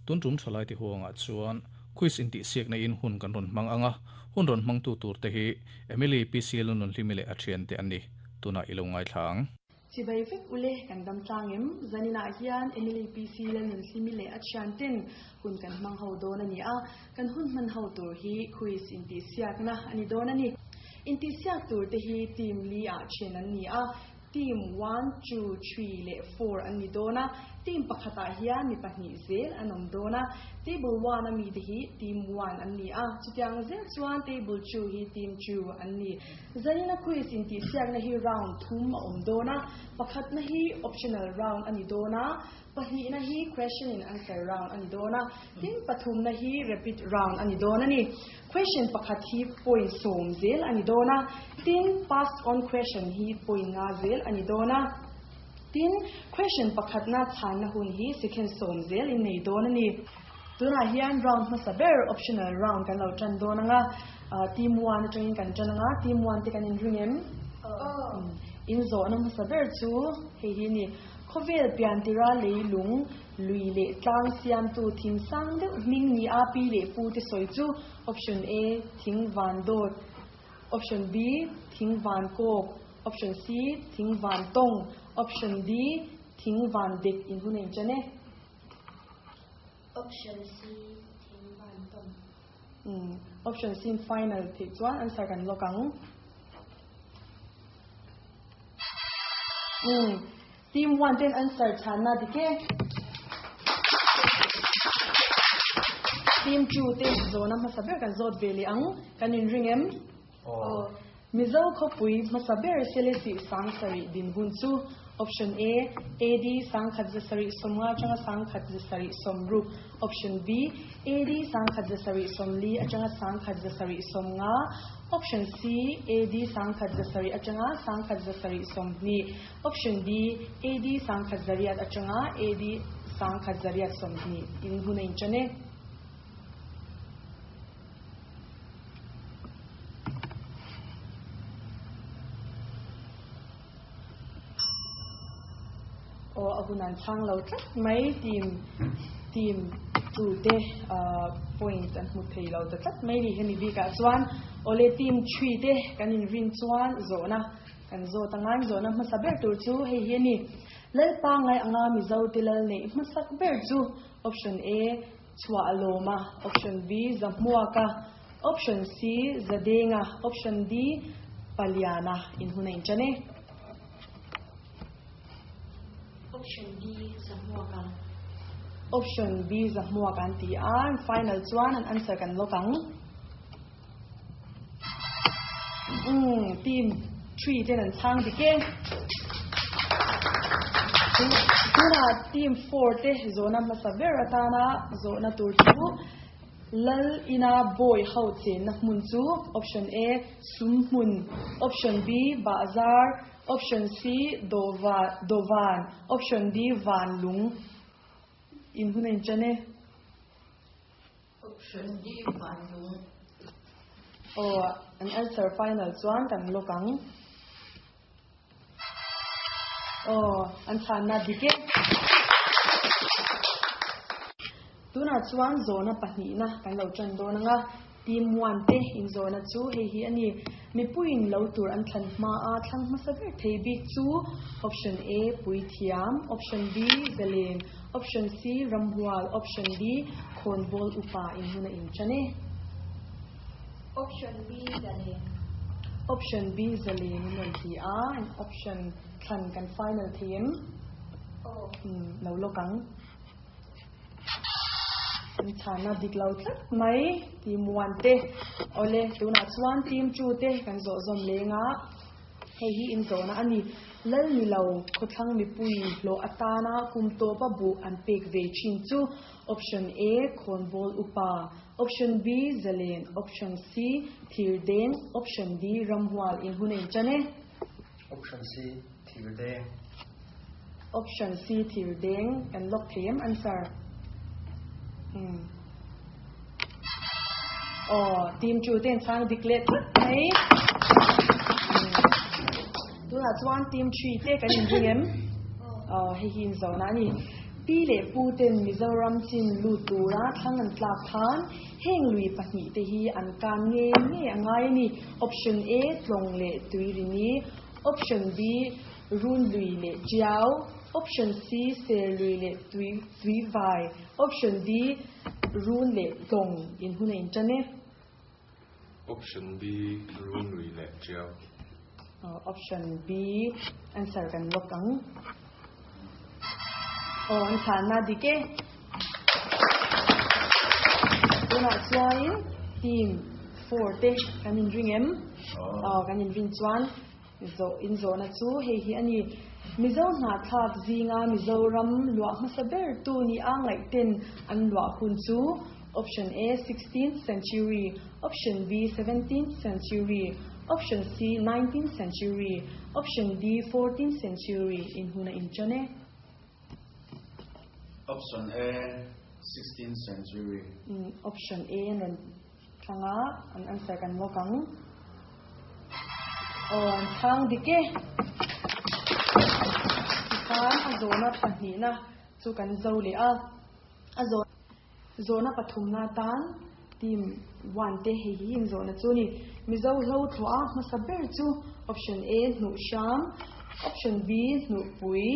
Tun tum thalai ti huangah chuan quiz intihsiakna in hun kan rawn hmang ang a, hun rawn hmangtu tur te hi Emily PC Lununhlimi leh a thiante an ni. Tunah i lo ngaithla ang. Chibai vek ule kan dam tlang em? Zaninah hian Emily PC Lalnunhlimi leh a thianten hun kan hmang ho dawn a ni a, kan hun hman ho tur hi quiz intihsiakna a ni dawn a ni. Intihsiak tur te hi team li ah then an ni a, Team one, two, three leh four an ni dawn a, team pakhatah hian mi pahnih zel an awm dawn a. Table one a mite hi team one an ni a, chutiang zel chuan table two hi team two an ni. Zanina quiz intihsiakna hi round thum a awm dawn a, pakhatna hi optional round a ni dawn a, Pahnihna hi question and answer round a ni dawn a, tin pathumna hi rapid round a ni dawn a ni. Question pakhat hi point sawm zel a ni dawn a, tin pass on question hi point nga zel a ni dawn a. Tin, question pakhatna chhanna hun hi second sawm zel in nei dawn a ni. Tunah hian round hmasa ber optional round kan lo tan dawn ang a, team one atangin kan tan ang a, team one te kan inring em? In zawhna hmasa ber chu hei hi a ni. Khawvel piantira leilung, lui leh tlang siamtu thing sang deuh hming ni a pi leh pu te sawi chu Option A, Thing van dawt Option B, Thing van kawk Option C, Thing van tawng Option D, Thing van dek in hun a inṭan e. Option C, Thing van tawng. Umm, option C in final theih chuan answer kan lock ang. Umm, team one ten answer chhanna dik e. Team two te zawhna hmasa ber kan zawt ve leh ang, kan inring em? Aw. Mizo khawpui hmasa ber Selesih Sangsarih dinhmun chu Option A, AD sangkhat zasarih sawmnga atanga sangkhat zasarih sawmruk Option B, AD sangkhat zasarih sawmli atanga sangkhat zasarih sawmnga Option C, AD sangkhat zasarih atanga sangkhat zasarih sawmhnih Option D, AD sangkhat zariat atanga AD sangkhat zariat sawmhnih in hun a inṭan e. Aw a hun an chhang lo tlat mai team team tu te point an hmu thei lo ta tlat mai ni hemi bikah chuan awle team three te kan inrin chuan zawhna kan zawt anga zawhna hmasa ber tur chu hei hi a ni Lalpa ngai anga Mizo te lal neih hmasak ber chu option A Chhuah a lawm a, Option B, Zahmuaka, Option C, Zadenga, Option D, Paliana in hun a inṭan e. Option B, Zahmuaka. Option B, Zahmuaka an ti a, final chuan an answer kan lock ang. Umm, team three ten an chhang dik e. Tunah team four te zawhna hmasa ber atana zawhna tur chu Lal ina bawi ho chenna hmun chu option A, sum hmun, option B, bahzar, option C, dawva, dawvan, option D, van lung. In hun a inṭan e. Option D van lung. Aw, an answer final chuan kan lock ang. Aw, an chhanna dik e. Tunah chuan zawhna pahnihna kan lo tan dawn ang a, team one te inzawhna chu hei hi a ni. Mipuiin lo tur an thlan hma a thlang hmasa ber thei bik chu Option A, Puithiam, Option B, Zalen, Option C, Ramhual, Option D, Khawnbawl upa in hun a inṭan e. Option B, Zalen. Option B, Zalen in rawn ti a, option thlan kan final thei em? Aw. Umm, lo lawk ang. An chhana dik lo tlat mai team one te. Awle, tunah chuan team two te kan zawh zawm leng a, hei hi inzawhna a ni. Lal ni lo khawthlang mipui hlawh atana kum tawpa buh an pek ve thin chu Option A, Khawnbawl upa, Option B, Zalen, Option C, Thirdeng, Option D, Ramhual in hun a inṭan e. Option C, Thirdeng. Option C thir deng kan lock thei em answer? Umm. Aw, team two te an chhang dik leh tlat mai. Tunah chuan team three te kan inring em? Aw, hei hi inzona a ni. Pi leh pu ten Mizoram chin lut tura thlang an tlak khan heng lui pahnihte hi an kan nge nge a ngai a ni. Option A, Tlawng leh Tuirini, Option B, Run lui leh Tiau, Option C, Ser lui leh Tui Tuivai, Option D, Run leh Tlawng in hun a intan e. Option B, Run lui leh Tiau. Option B, answer kan lock ang. Aw, an chhanna dik e. Tunah chuanin team 4 te kan inring em? Aw, kan inring chuan zawh in zawhna chu hei hi a ni. Mizo hnahthlak zinga Mizoram luah hmasa ber tu ni a ngaihten an luah hun chu Option A, 16th century, Option B, 17th century, Option C, 19th century, Option D, 14th century in hun a inṭan e. Option A, 16th century. Option A an rawn thlang a, an answer kan lawk ang. Aw, an chhang dik e. Tikhan a zawhna pahnihna chu kan zo leh a. A zawh zawhna pathumna atan team one te hei hi in zawhna chu a ni. Mizo hlo thlawh a hmasa ber chu option A hnuh hram, option B hnuh pui,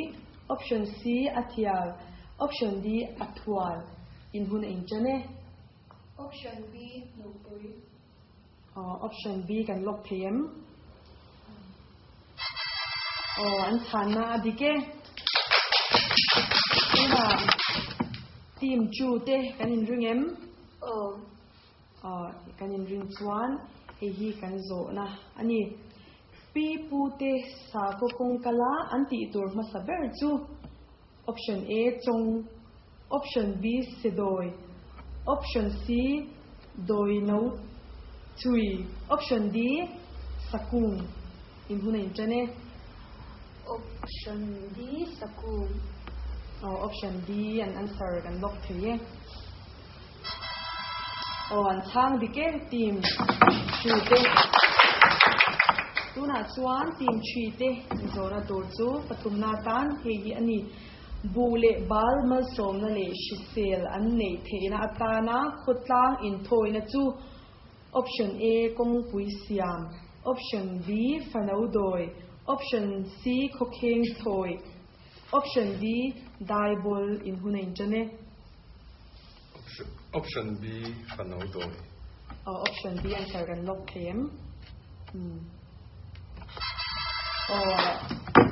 option C a thial, option D a thual in hun a inṭan e. Option B hnuh pui. Aw, option B kan lock thei em? Aw, an chhanna a dik e. Tunah team 2 te kan inring em? Aw. Aw, kan inring chuan hei hi kan zawhna a ni. Pi pu te sakhaw kawngkala an tih tur hmasa ber chu Option A, Chawng, Option B, Sedawi, Option C, Dawi no chui, Option D, Sakung in hun a inṭan e. Option D, Sakung. Aw, Option D an answer kan lock thei e. Aw, an chhang dik e, team 2 te. Tunah chuan team 3 te zawhna tur chu pathumna atan hei hi a ni. Buh leh bal malsawmna leh hrisel an neih theihna atana khawtlang inthawina chu Option A, kawngpui siam, Option B, fano dawi, Option C, khawkheng thawi, Option D, daibawl in hun a inṭan e. Option B, fano dawi. Aw, option B answer kan lock thei em? Umm. Aw,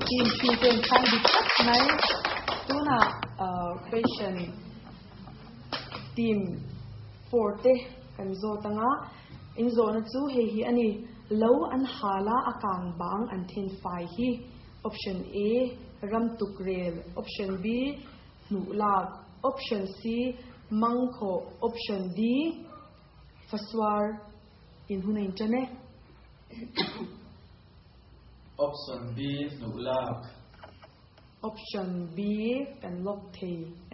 team 3 te an chhang dik tak mai. Tunah question team 4 te kan zawt anga, in zawhna chu hei hi a ni. Lo an hal a, a kang bang an then fai hi. Option A, ram tuk rel. Option B, hnuh lak. Option C, mang khawh. Option D, fasuar in hun a inṭan e. Option B, hnuh lak. Option B, kan lock thei em?